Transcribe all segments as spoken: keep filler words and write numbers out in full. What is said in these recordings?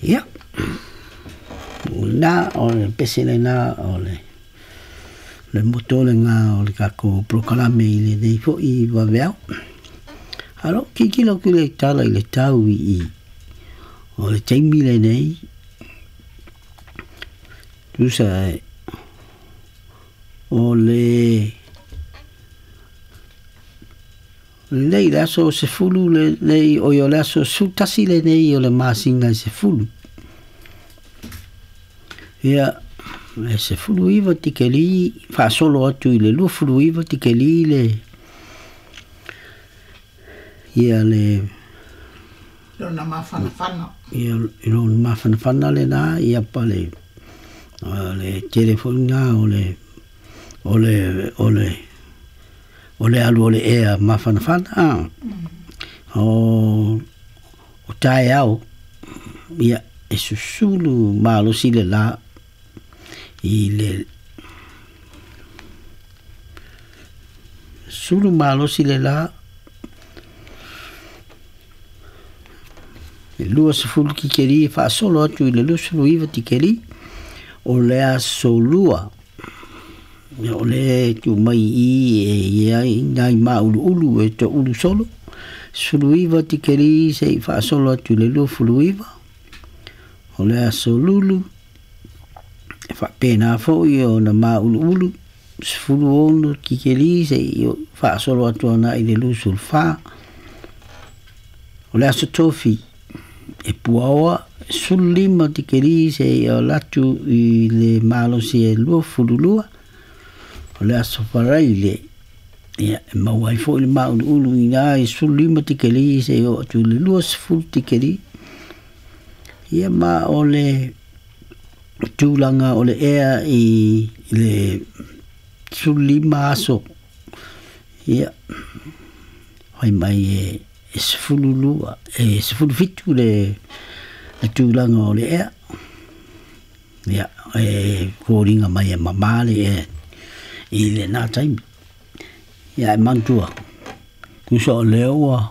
Ia na o le pese lena o le le moto lena o le tatou polokalame i lenei fo'i vaveao. Alo tilotilo atu i le tala i le tau i i o le taimi lenei tusa e o le lenei le aso sefulu lenei oi o le aso sefulutasi lenei o le masina e sefulu. Ia e sefulu iva tikeli faasolo atu i le luafulu iva tikeli le ia le lona mafanafana. Ia lona mafanafana lena ia pa le le tele foi lena o le o le o le o le alu o le ea mafanafana o o taeao ia e susulu malosi le la i le sulu malosi le la e luasefulu tikeli e faasolo atu i le luasefulu iva tikeli o le aso lua o le tuu mai i e ia i nai mauluulu e toulu solo sefulu iva tikeli se'i faasolo atu i le luafulu iva o le aso lulu e faapena fo'i ona mauluulu sefulu ono tikeli se'i faasolo atu ana i le lusulufa o le aso tofi e puaoa sefululima tikeli se'i o atu i le malosi e luafululua o le aso faraile ia e maua ai fo'i le mauluulu ina i sefululima tikeli se'i oo atu i le luasefulu tikeli ia ma o le tulaga o le ea i le sefululima aso ia fai mai e e sefululua e sefulufitu le le tulaga o le ea ia e foliga mai e mamā le ea i lena taimi ia e manatua tusa o lea ua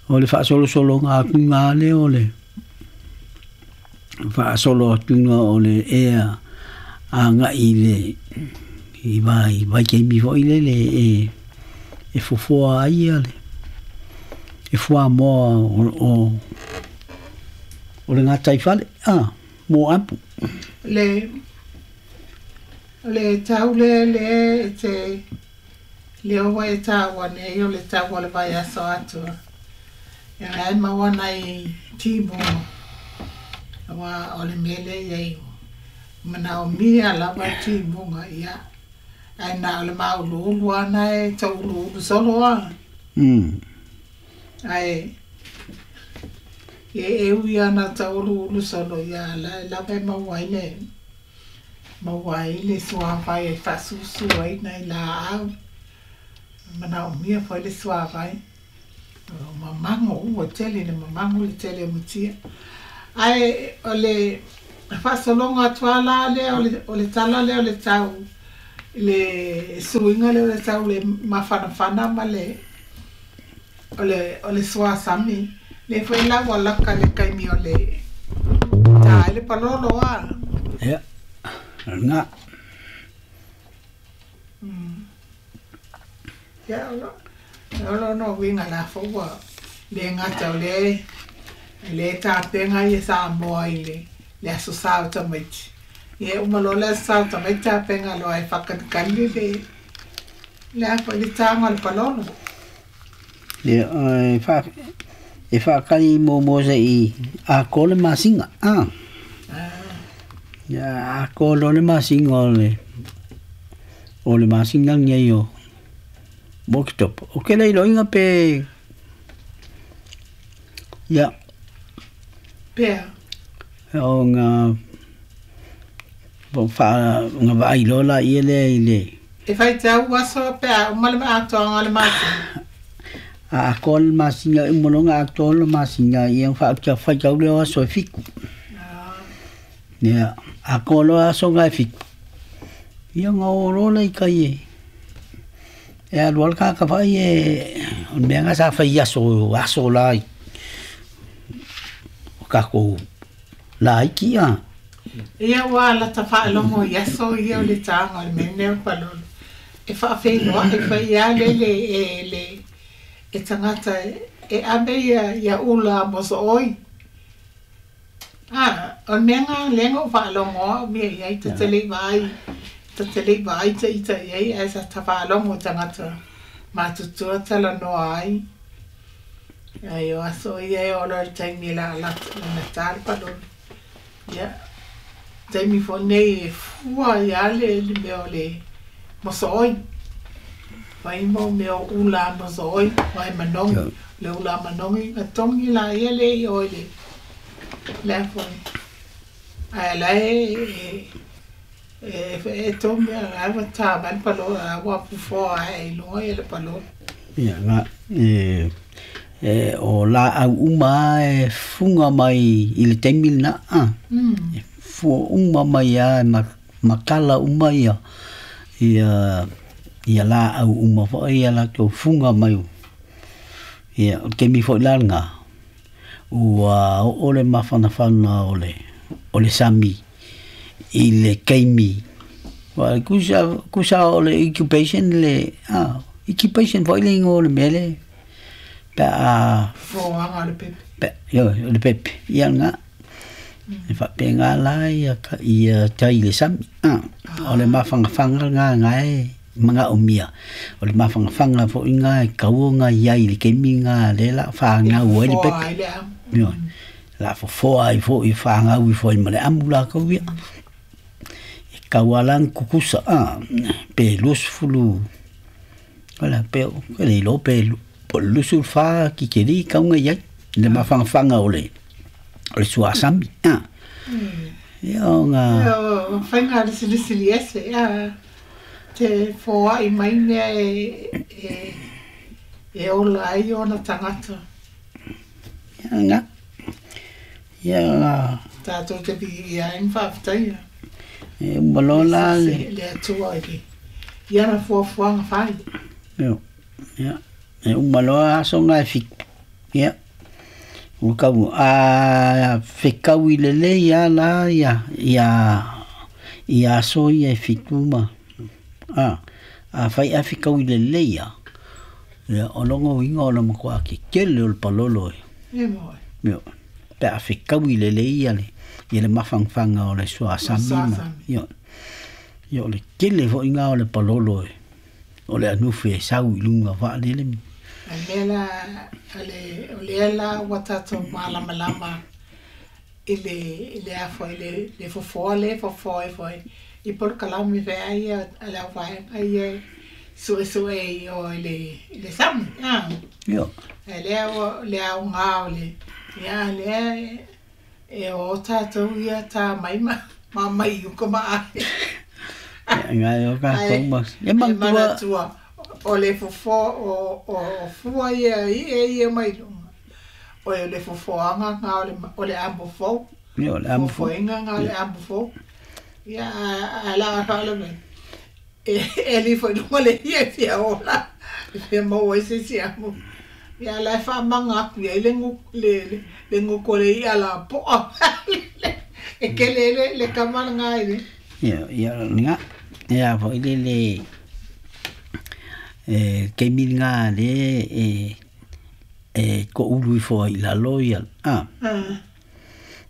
o le faasolosologa atuga lea o le faasolo atuga o le ea aga'i i le i vai vaitaimi fo'i lele e e fofoa ai ia le e fuamoa o o o le gataifale a mo apu le le tau le le e te le oa e taua nei o le tau o le vaiaso atoa e ai maua nai timuga aua o le mea lea e iai manaomia lava timuga ia ae na o le mauluulu ana e tauluulu solo a mm ae e e ui ana tauluulu solo ia la lava e maua ai le maua ai le suavai e faasusu ai nai laau manaomia foi le suavai o mamago ua tele le mamago le tele o mutia ae o le faasologa atu a la lea o le o le tala lea o le tau le suiga lea o le tau le mafanafana ma le o le o le suasami le foi la ua laka le taimi o le tā ai le palolo a ia lena ia o lo o lo no uiga la fou ua le gata o le le tapega ia Samoa i le le aso sa o tamaiti ia uma loa le aso sa o tamaiti tapega loa e faakalikali le le a foi le taga o le palolo ia e fa e faakali muamua se'i atoa le masina a ia atoa loa le masina o le o le masina lenei o Oketopa o ke le iloiga pe ia pea o ga fa ga vaai loa laia lea i le e faitau aso pe a uma le atoaga o le masina a atoa le masina e uma loa ona atoa le masina ia ona faitau lea o aso e fitu ia atoa loa aso na e fitu ia ona o loa lea i tai e e alu lava le tagata vaai e o le mea lena sa fai i aso aso la o tatou laiki a. Ia ua la ta faalogo i aso ia o le taga o le mea lenei o le palolo e faafeiloai fai ia le le e le e tagata e ave ia ia ula mosooi. A o le mea lena lea na ou faalogo au mea i ai ta te le i vaai ta te le i vaai ita i ai ae sa ta faalogo i tagata matutua talanoa ai. Ai o aso ia e oo loa i le taimi e lana ta le palolo. Ia taimi foi nei e fua ai lava le le mea o le mosooi. Fai mo mea o ula mosooi aua e manogi le ula manogi na togi laia lea i o i le le a foi ae la e e e togi a ua tā mai le palolo a ua fofoa ae i luga ia le palolo. Ia na e e o laau uma e fuga mai i le taimi lena a. E fua uma mai lava ma matala uma ia ia ia laau uma foi ia latou fuga mai. Ia o le taimi foi la lena ua oo le mafanafana o le o le sami i le taimi ua kusa kusa o le incubation le a incubation foi le igoa o le mea le pe a Fofoaga o le pepe. Pe ioe o le pepe ia lena e faapena la ia ia tai i le sami a o le mafanafana lena na e manaomia o le mafanafana foi lena e tatau ona i ai i le taimi lena lea o le a fanau ai le pepe ioe la fofoa ai foi fanau ifo ai ma le amu latou ia e tatau lava la ona tutusa a pe luasefulu wala pe e le iloa pe po o le luasefulu fa kikeli e tatau ona i ai le mafanafana o le o le suasami a ia ona O faiga lisilisili ese a te foai mai mea e e e ola ai ona tagata. Ia na ia na Tatou te viia ai ma faafetaia. E uma loa la le le Atua i le i ana fuafuaga fai. Io ia e uma loa aso na e fitu ia ua tau a fetaui lelei lava la ia ia ia aso ia e fitu ma a afai ae fetaui lelei lava ia o lona uiga o le matuā tetele o le palolo e. E moe. Io pe a fetaui lelei ia le ia le mafanafana o le suasami ma ioe ia o le tele foi lena o le palolo e o le anufi e sau i luga faalele. A le mea la o le o lea la ua tatou malamalama i le i le a foi le le fofoa lea e fofoa ai foi i polokalame feai ia a le auvaega ia e suesue i o i le i le sami a. Io. Ae lea ua le aoga o le ia lea e e o tatou ia ta mai ma ma mai i uka ma ae. Ia ngai o tatou ma e E manatua manatua o le fofoa o o o fua ia i'a ia mai luga o le fofoaga lena o le o le amo fou. Io le amo fou. Fofoina lena o le amo fou. Ia ae la a faalavelave e e ali foi i luga le ia e fia ola e fia maua ai se isi amo. Ia la e faamaga atu i ai le le le gutu o le i'a lapoa e tele ai le le tama lena i le Ia ia lena ia foi le le e taimi lena lea e e toulu ifo ai i lalo ia a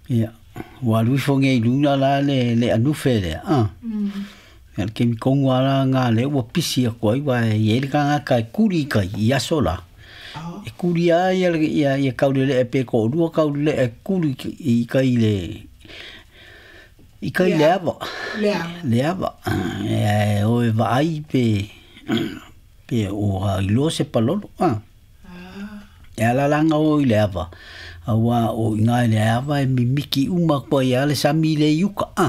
ia ua alu ifo nei i luga la le le anufe lea a ia le taimi tonu lava la lena lea ua pisi atu ai aua e i ai le tagata e kuli i tai i aso la e kuli lava ia ia ia taulelee pe toalua taulelee e kuli i tai i le i tai le ava le ava e o e vaai pe pe ua iloa se palolo a e ala la ona o i le ava auā o i ina i le ava e mimiki uma atu ai lava le sami lea i uka a.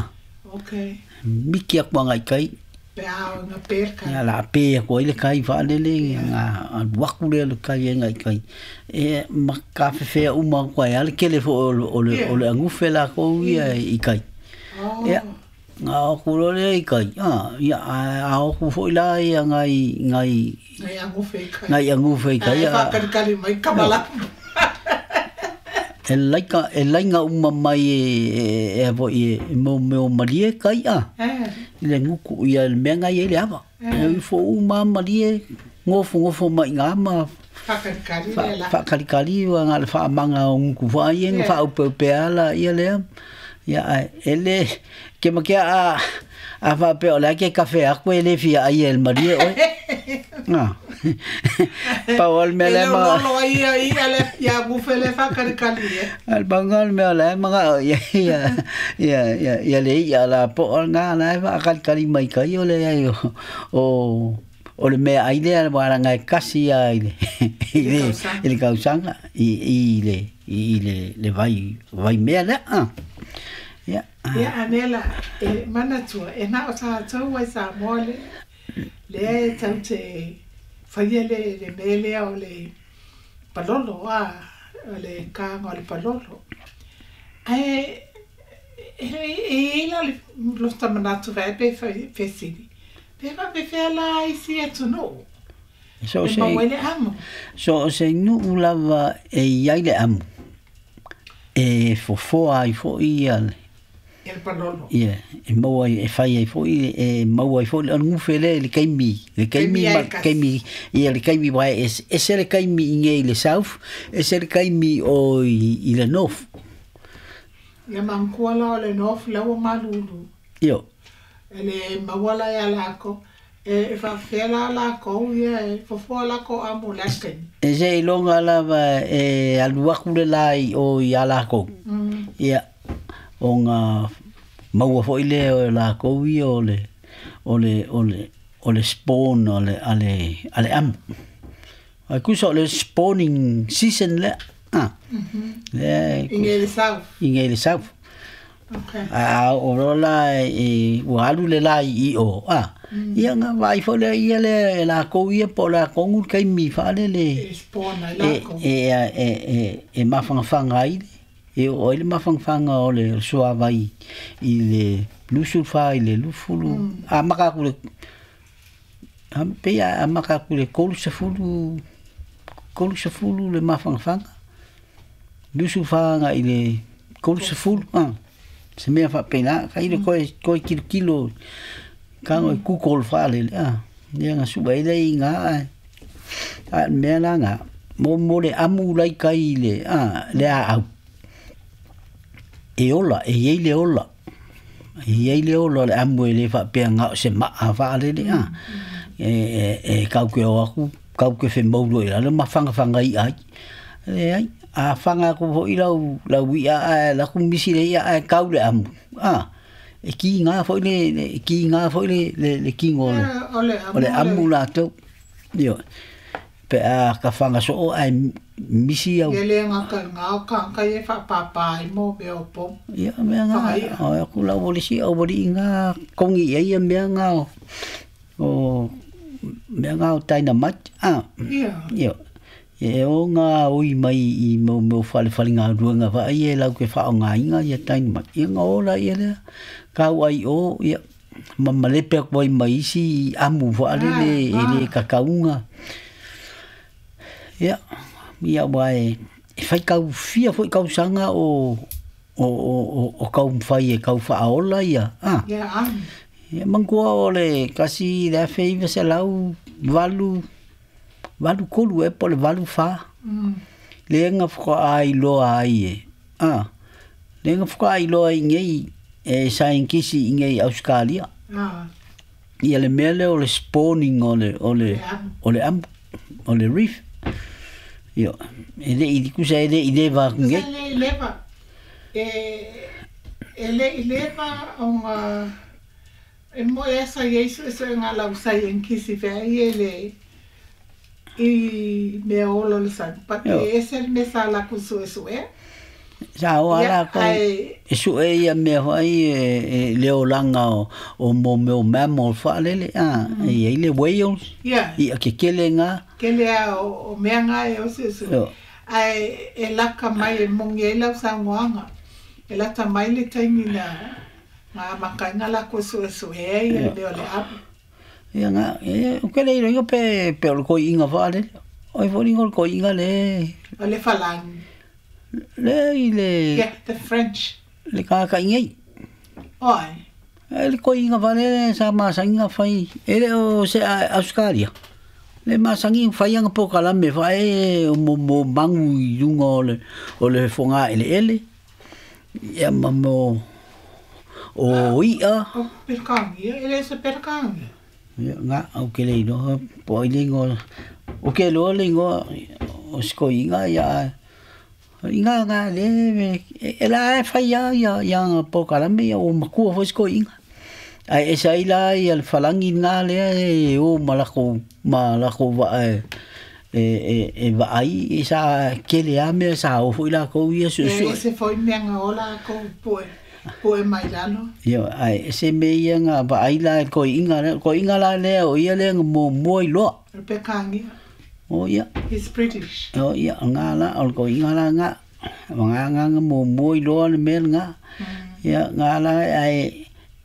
Okay. Mimiki atu agai i tai. Pe a o ina pe le kai. Ia o le a pe atu ai le kai faalele ona alu atu lea o le kai agai i tai e ma tafefea uma atu ai lava le tele foi o le o le anufe latou ia i tai. Ia ona o atu loa lea i tai a ia ae a o atu foi la ia nai nai Nai anufe i tai. Nai anufe i tai Ae faakalikali mai kamalamu. E laika e lainga uma mai e e voi e mo mo malie kai a. Eh. I le nguku ia le mea ngai e le ava. E ifo uma malie ngofo ngofo mai ngā ma Whakalikali le la. Whakalikali wa ngā le whaamanga o nguku wha ia nga whaaupeupea la ia lea. Ia ai e le ke makea a a whapea o le ake kafe aku e le fia ai e le malie oe. Ngā. Pau al mea le E ma. le lolo ai ia ia le ia gufe le whakalikali e. Al panga le mea le manga ia ia ia ia ia le ia la po o ngā la e whakalikali mai kai o le ai o o o le mea ai lea wara ngai kasi ai le i le i le kausanga i i le i le le vai vai mea le a. Ia. Ia anela e manatua e na o tātou ai sa mole le e tau te whaia le le melea o le palolo a o le kānga o le palolo. Ai e e ila le losta manatu vai pe fesili. Pe va pe fea la isi atu no. So E se mawele amo. so se nu lava e iai le amu. E fofoa ai fo ia le El palolo. Ia, e maua e whai ai foi, e maua ai foi, o ngufe le, le kaimi, le kaimi, Kaimi ai ma, kasi. kaimi, ia le kaimi wai, e, e se le kaimi i ngei le south, e se le kaimi o i, i le north. Ia mangkua la o le north laua malulu. Io. E le maua la ia lako, e, e whawhea la lako, ia e fofoa lako amo laken. E se i longa lava e aluaku le lai o i a lako. Mm. Ia, o ngā maua foi le o lako ia o le, o le, o le, o le spawn o le, a le, a le amu. Ai kusa o le spawning season le. Ah. Mm-hmm. Le, I ngei le south. I ngei le south. Okay. A o rola e ua alu le lai i o. Ah. Mm. Ia ngā vai foi le ia le lako ia po la kongu kai mi wha le le. E spawn ai E, lako. e, e, e, e mawhangawhanga ai le. E o le mawhangawhanga o le suavai i le lusulfa i le lufulu. Mm. A maka ku le a pea a maka ku le kolu sefulu kolu sefulu le mawhangawhanga. Lusulfa nga i le kolu sefulu. Ah. Se mea whapena, ka ilo koe, koe kilo kilo, ka ngoi kukol whaale le, ah. Ia ngā suba ile i ngā, ai. A mea la ngā, mo mo le amu lai kai le, ah, le a au. E ola, e iei le ola. E iei le ola le amu e le whapea ngā o se maa whaale le, ah. E, e, e kau ke o aku, kau ke whemauro i lalo, ma whanga whanga i ai. Le ai, a whanga ku hoi lau, lau ia a, la ku misi le ia a kau le amu. Ah, e ki ngā foi le, le e ki ngā foi le, le, le kingo le. Eh, o le amu O le amu le. la tau. Io. Pe a ka whanga so o ai misi au. Ia le ngā ka ngā o ka ka e whapapa i mō mea o pō. Ia mea ngā, Whakaia. o aku lau o le si au wari i ngā kongi ia ia mea ngā o, o mea ngā o taina mat. Ah, Ia. Io. E o ngā oi mai i mau mau whale whale ngā ruanga wha ai e lau ke wha o ngā inga ia taina mat. Ia ngā ola ia lea, kau ai o, ia, ma malepe aku ai mai isi amu whaale le, Ah, e le ah. kakaunga. Ia, ia wa e, e whai kau fia foi kau sanga o, o, o, o, o kau mwhai e kau whaola ia. Ah. Ia amu. Ia mangkua o le kasi le awhe iwa se lau valu, valu kolu e po le valu wha. Mm. Le nga whaka ai loa ai e. Ah. Le nga whaka ai loa i ngei e scientist i ngei Australia. Ah. Ia le mea lea o le spawning o le, o le, Le amu. o le amu, o le reef. Io, e le i kusa e le i le wā Sa ngei. le i leva. E, e le i leva o ngā e mo e sa Yesu e so ngā lau sa yenkisi fea i e le i mea olo le san. Pa Io. e ese le mesa la ku su e su e. Sa o Ia, ala ko ai e su e ia mea whai e, e le olanga o, o mō meo mammal whaalele. Ah, Mm. e i le whales, ia, i a ke kele ngā. ke lea o, o mea ngā e o se su. Io. Ai e laka mai e mongi e lau sa ngoanga. E lata mai le taimi na ngā makainga la ku su e su e ia le Io. mea o le apu. Ia ngā, e, o ke le iro pe, pe o le koi inga whaalele. Oi fo ringo le koi inga le. O le whalangi. Le i le Yeah, the French. Le kāka ingei. Oi. E le koiga vale sa masagiga fai e le o se Australia. Le masagi fai anga po kalame fa e o mo mo mangu i lunga o le o le fonga ele ele. Ia ma mo o ia. O perkangi, e le se perkangi. Ia nga au ke le ino po i lingo o ke lo lingo o skoinga ia inga nga le e la e fai ia ia ia po kalame ia o makua fo skoinga. Ai e sai la ia le falangi nga le e o malako malako va e e e va ai e sa kele a me sa o foi la ko ia su su E se foi mea ola ko po po e mai lalo. Ia ai se me ia nga va ai la ko inga ko inga la le o ia le mo mo i lo. Pekangi. O ia. He's British. O ia nga la o ko inga la nga nga nga nga mo mo i lo le mel nga. Ia nga la ai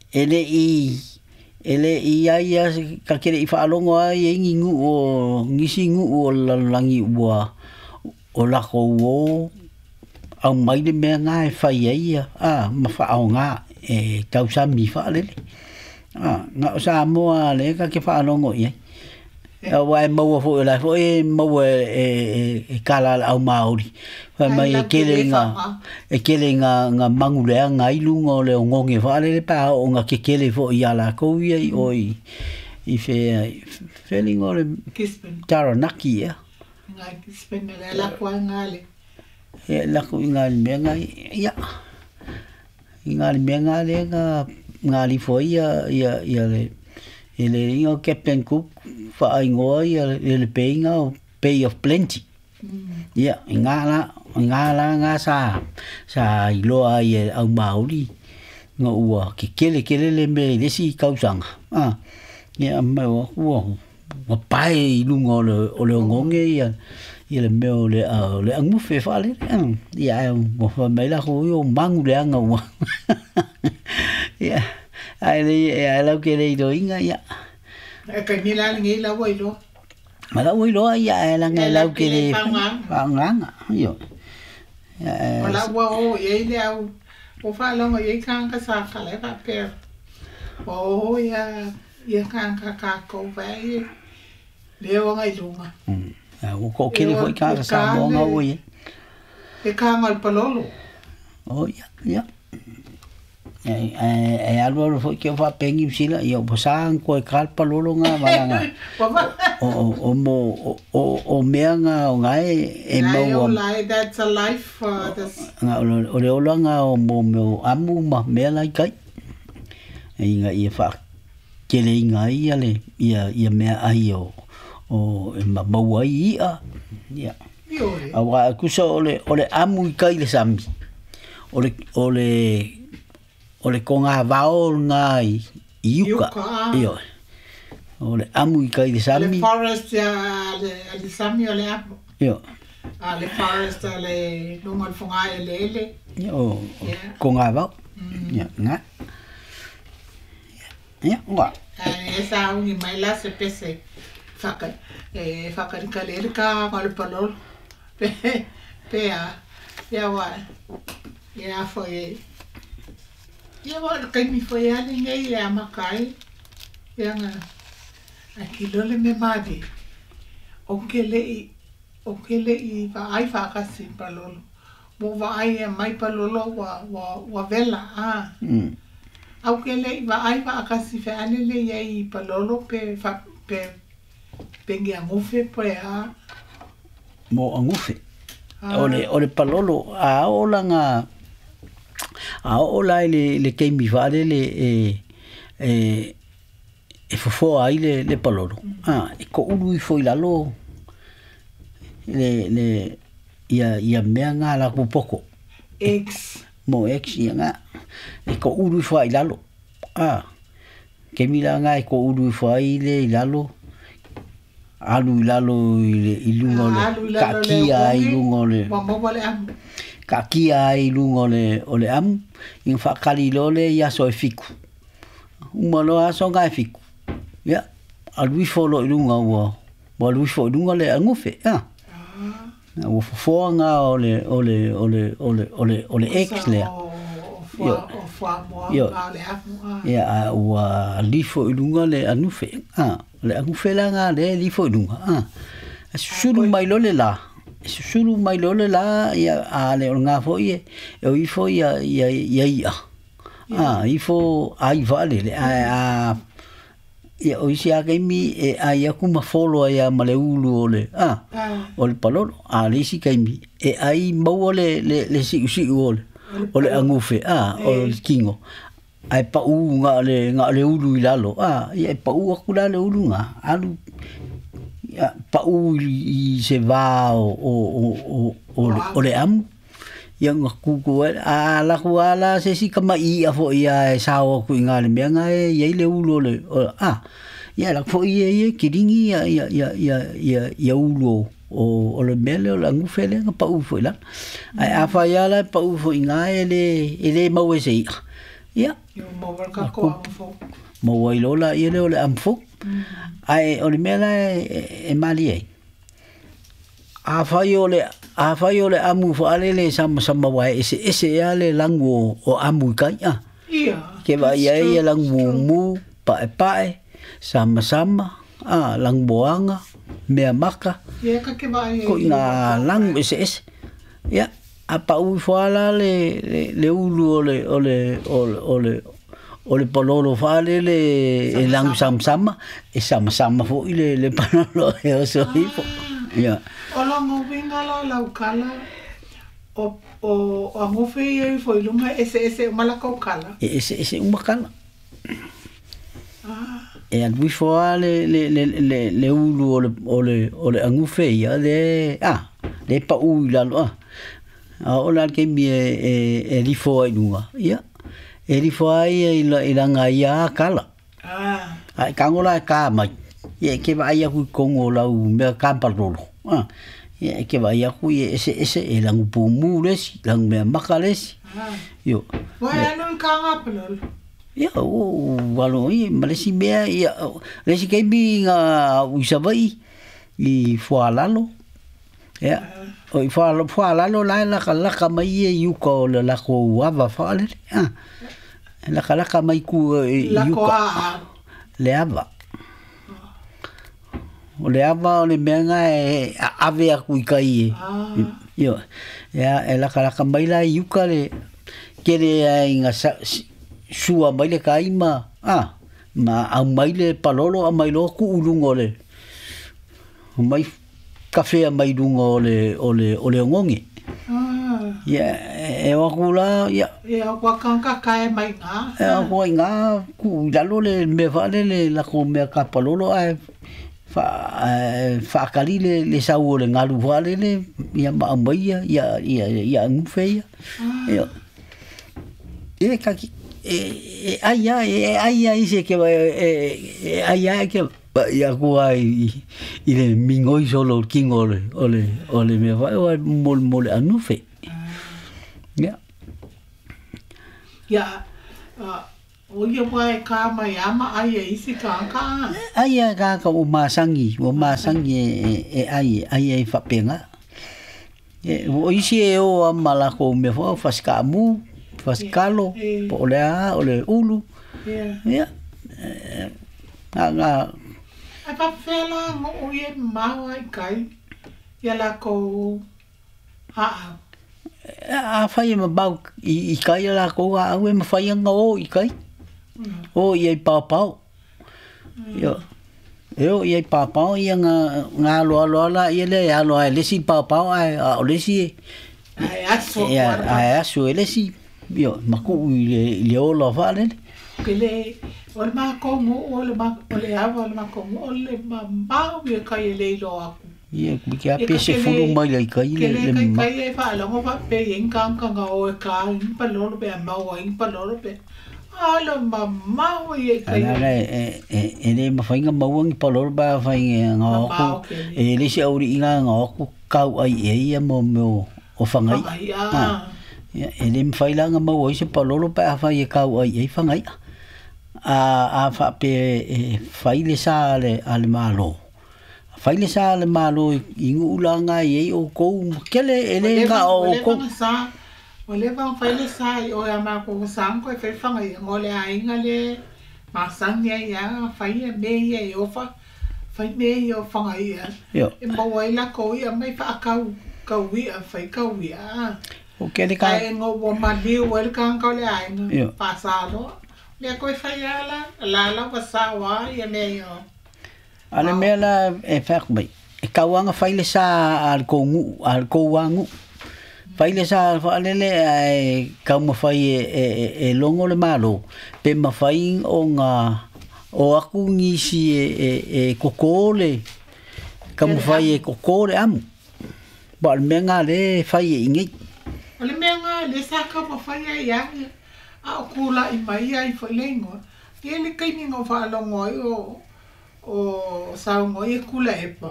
ele i ele i ai ia ka kere i whaalongo ai e ngingu o ngisi ngu o langi ua o lako o au mai le mea ngā e whai ai ia a ma whaao ngā e tausami whaalele a ngā o sa moa le ka ke whaalongo i ai a wa e maua fo e lai fo e maua e e kala au Māori whai mai e kele ngā e kele ngā ngā mangulea ngā ilunga o le o ngonge whaalele pā o ngā kekele fo i ala kou ia i o i i whea whelinga o le Gisborne. Taranaki ia Ngā Gisborne le lako ai ngā le e lako i ngā mea ngā ia i ngā mea ngā le ngā ngā lifo ia ia ia le e le inga o Captain Cook whaingoa ia le le peinga o Bay of Plenty. Ia, i ngā la, i ngā la ngā sa, sa iloa ai e au Māori, ngā ua ke kele kele le me le si kausanga. Ah, ia me o ua, ua pae i lunga o le, o le ngonge ia, ia le mea o le, uh, le angufe whaale. Ia, e, ua mai la ko o mangu le anga ua. Ia, ai le, ai lau ke le iro inga, ia. E kai mila le ngi la wai lo. Ma la wai lo ia e la ngai lau ke le whaanganga. Io. Ia O la ua o ia le au o whaalongo ia kanga sa kala pa per. O ia ia kanga ka ko vai le o ngai lunga. Mm. O ko kele foi kanga sa mo ngau ia. E kanga al palolo. O ia, ia. E e alu alu foi ke fa pengi usila ia o sa ko e kal palolo nga malanga. O o o mo o o mea nga o ngai e mau lai that's a life uh, that's nga o le ola nga o mo mo amu ma mea lai kai. E inga ia fa kele inga ia le ia ia mea ai o o e ma mau ai ia. Ia. A wa kusa o le o le amu i kai le sami. O le o le o le konga vao ngā i iuka. Io. O le amu i kai le sami. Le forest ia le le sami o le amu. Io. A le forest a le lunga le fonga e le ele. Io. Konga vao. Ia ngā. Ia ngā. E sa ungi mai la se pese whaka e whakarika le ele ka ngā le palolo. Pe pe a ia wa ia foi ia wa kai mi foi ali nei ia makai ia nga a ki lole me madi o ke le i o ke le i va ai fa ka si palolo mo va ai e mai palolo wa wa wa vela a mm au ke le i va ai fa ka si fe ale le ia i palolo pe fa pe pe ngia ngufe pe a mo angufe o le o le palolo a ola nga a ola le le keimi whaale le e e e fofoa ai le le palolo a e ko ulu i foi lalo le le ia ia mea ngā la poko ex mo ex ia ngā e ko ulu i foi lalo a keimi la ngā e ko ulu i foi le i lalo alu i lalo i le i lunga o le kakia i lunga o le kakia i lunga o le o le amu i whakali lole i aso e fiku uma loa aso ngā e fiku ia alu ifo lo i lunga ua ua alu ifo i lunga le angufe a Ua fofoa o le o le o le o le o le o le ex lea. Io. Ia a ua lifo i luga le anufe. Ah, le anufe la nga le lifo i luga. Ah. Susulu mai lo le la. Susulu mai lo le la ia a le o nga fo ie. E o ifo ia ia ia ia. Ah, ifo ai vale le a a ia o isi a kaimi e ai aku ma folo ia ma le ulu o le ah o le palolo a le isi kaimi e ai maua le le le siu siu o le o le angufe ah o le kingo ai pau nga le nga le ulu i lalo ah ia e pau aku la le ulu nga alu ia pau i se va o o o o o le amu ia nga kuku a la ku ala se si kama i a fo ia e sao ku inga le mea nga e ia le ulu le a ia la fo ia ia kiringi ia ia ia ia ia ia ulu o o le mea le o le angufe le nga pau fo ila ai a fa ia la pau fo inga e le e le mau e se ia ia mau ka ko amfo mau ai lola ia le o le amfo ai o le mea la e mali ai a fai o le a fai o le amu faalele sama sama wa ese ese ia le langu o amu kai a ia ke va ia ia langu mu pae pae sama sama a langu boanga mea maka ia ka ke va ia ko ina langu ese ese ia a pau fuala le le ulu o le o le o le o le palolo faalele e langu sama sama e sama sama fo i le le palolo e o so ifo ia. O longo winga la laukala o o o angofe ia ifo i lunga ese ese uma kala. E ese ese uma kala. Ah. E alu ifo a le le le le le ulu o le o le o le angufe ia le ah le pau i lalo ah. A o la ke mi e e e lifo ai lunga. Ia. E lifo ai i la i langa ia kala. Ah. Ai kangola ka mai. Ia ke vai aku kongo lau mea kampalolo. Ah. Ia ke vai aku ia ese ese e langu pumu lesi, langu mea maka lesi. Ah. Io. Wai anu kanga palolo. Ia o walo i malesi mea ia lesi keimi nga uisavai i fualalo. Ia. O i fualalo fualalo la la laka mai e yuka o le lako ava faalele. Ah. Laka laka mai ku e yuka. Le ava. O le ava o le mea nga e ave aku i kai e. Io. Ia e laka laka mai la yuka le kere ai nga sua mai le kaima. Ah. Ma au mai le palolo a mai lo ku ulungo le. Mai kafe mai lungo o le o le o le ngonge. Ah. Ia e aku la ia. Ia kwa kanka kai mai nga. E aku nga ku lalo le me vale le la ko mea ka palolo ai fa fa kali le le sau le ngalu vale le ia ma mai ia ia ia ia ngufe ia. Ia. E ka ki e ai ai ai ai se ke e ai ai ke ia ku ai i le mingoi solo kingo le o le o le me va o mol mol anufe. Ia. Ia o ia wai ka mai ama ai e isi ka ka. Ai a ka ka o masangi, o masangi e e ai ai e fapenga. E o isi e o amala ko me fo faska mu, faskalo, po le a o le ulu. Ia. Ia. A nga ai pa fela mo o ie mau ai kai. Ia la ko a a fai ma bau i kai la ko a au e ma fai nga o i kai. O ia i pāpao. Ia. E o ia i pāpao ia nga nga aloa aloa la ia le aloa e lesi pāpao ai a o lesi e. Ai aso. Ia ai aso e lesi. Ia maku i le i le ola whaalele. Ke le o le makongo o le ma o le ava o le makongo o le mamau ia kai e leilo aku. Ia ke a pese fulu mai lai kai le le kai kai e whaalongo wha pe i nganganga o e ka i palolo pe a maua i palolo pe. Ala mamau ia kai. Ala e e e le mawhainga mauangi palolo ba whainga ngā oku. E le si auri inga ngā oku kau ai e ia mo mo o whangai. Ah. Ia e le mwhailanga maua i se palolo pa whai e kau ai e whangai. A a wha pe e whaile sa ale ale malo. Fai le sa le malo i ngū langa i ei o kou kele e le nga o kou. Sa o le vang fai le sa i o ya ma ko sa ko fe fanga i ngole a inga le ma sang ya ya fai e me ia i ofa fai me ia o fanga ia. Yo. E mo ai la ko ia mai fa kau kau ia fai kau ia. O kele ka ai ngo wo ma liu el kan ko le ai Yo. pa sa lo. Le ko fai ala la la wa sa wa ia me yo. Ale mea la e whaak mai. E kauanga fai le sa al kou ngu, al kou angu. Fai le sa al whaalele e kau mawhai e, e, e, e longo le malo. Pe mawhai o ngā o aku ngisi e, e, e koko le. Kau mawhai e koko le amu. Ba le mea ngā le fai e ingei. O le mea ngā le sa ka mawhai e ia. A o kula i mai ai fo le ingoa. Ia le kaimi ngā whaalongo ai o o saungo i kula epa.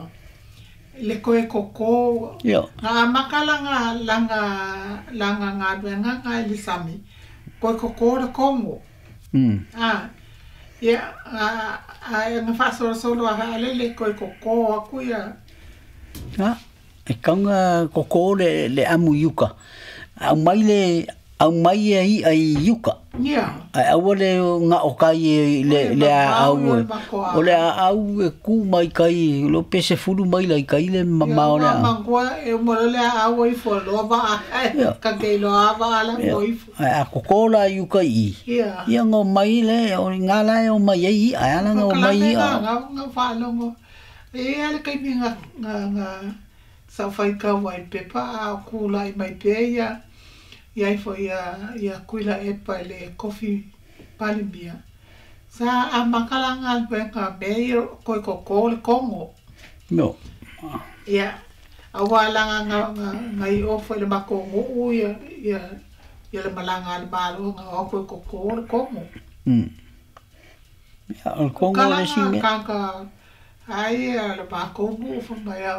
Le koe koko. Yo. Ngā maka langa, langa, langa ngā duenga ngā i le sami. Koe koko le kongo. Mm. Ah, ia, a, a, ngā whasorosoro a haale le koe koko aku ia. Ah, e kaunga koko le, le amu iuka. Au mai le, au mai e i ai iuka. Ia. Ai aua le ngā o kai e le, O le le a mamau, au e. le makoa. O le a au e ku mai kai, lo pese fulu mai lai kai le mamao le Ia, a. mangua e umolo le a au i fo loa va a, Ia. ka kei loa va ala Ia. mo i fo. Ai a koko la iuka i. Ia. Ia ngō mai le, o ngā la e o mai e i, ai ala ngō mai i Ngā, a. ngā, ngā whaalongo. E ale kai mi ngā, ngā, ngā sa whai kau ai pepa a o kula i mai pea ia. Ia ifo ia, ia kuila epa i le kofi palimia. Sa a makala ngā ngā me i koe koko le kongo. No. Ia, a wā langa ngā, ngā, ngā i ofo i le makongo u ia, ia, ia le malanga le malo ngā o koe koko le kongo. Mm. Ia, o le kongo le si mea. Kanga, ai a le makongo fo mai a.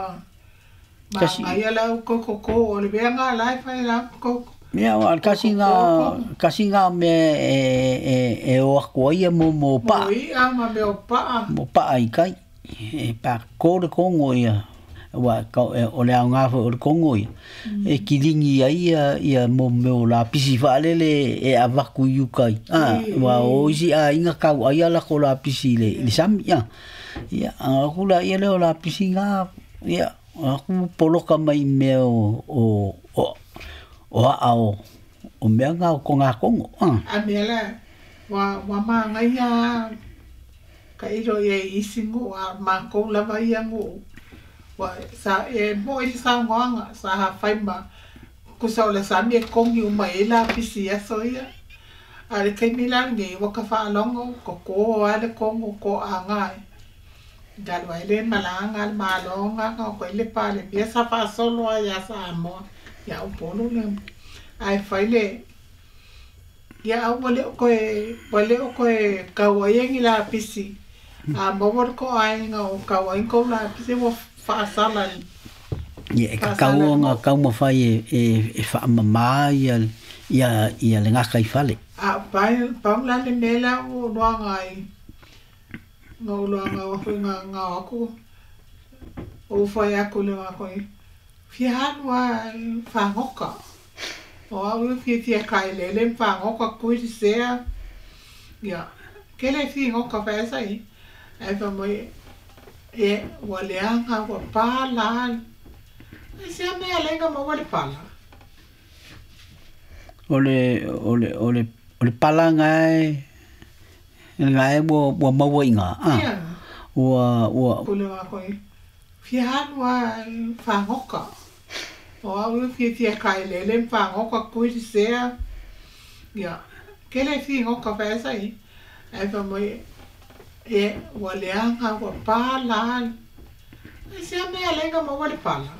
Ma Kasi- ngai ala u koe koko o le mea ngā lai whai la koko. Ia, o al kasi ngā, kasi ngā mea e, e, e o aku ai mo mo pa. Mo i a ma mea o paa. Mo pa ai kai. E pa ko le kongo ia. Wa ka e, o le au ngā o le kongo ia. E kilingi ai ia, ia mo meo la pisi whaalele e avaku i ukai. Ah, I- wa o isi a inga kau ai ala ko la pisi le, le sami ia. Ia, a aku la ia le o la pisi ngā, ia, aku poloka mai mea o, o, o, o a o, o mea ngā o ko ngā kongo. Ah. A mea la, wa, wa maa ngai a ka iro ia i isi ngu, a mākou lava ia ngu. Wa, sa, e mo i sa ngoanga, sa ha whai ma, kusa o le sami e kongi uma e la pisi aso ia. A le kai mila ngi, waka whaalongo, ko ko a le kongo ko a ngai. Galwa ele malanga, le malonga, ko ko ele pale, mia sa whaasolo a ia sa amoa. Ia upolu le. Ai whai le, ia au wale o koe, wale o koe kaua ia ngi la pisi. A mawar ko ai ngā o kaua i kou la pisi wa whaasala. Ia, e ka kau ngā kau mawhai e, e, e whaamama ia, ia, ia le ngā kai whale. A pai, pau la le mela o noa ngai. Ngā o loa ngā o ngā ngā aku. O whai aku le ngā koe. Fia hanua whangoka. O au fia fia kai lele whangoka kui te sea. Ia, kele fia ngoka whaesa i. Ai wha moi, e wa leanga wa pala. Ai sea mea lenga ma wale pala. O le, o le, o le, o le pala ngai, ngai ua, ua maua i ngā. Ah. Ia. Ua, ua, Kule ngā koe. Fia hanua whangoka. O au fia fia kai lele whangoka kui te sea. Ia, kele fia ngoka whaesa i. Ai wha moi, e wa leanga wa pala. Ai sea mea lenga ma wale pala.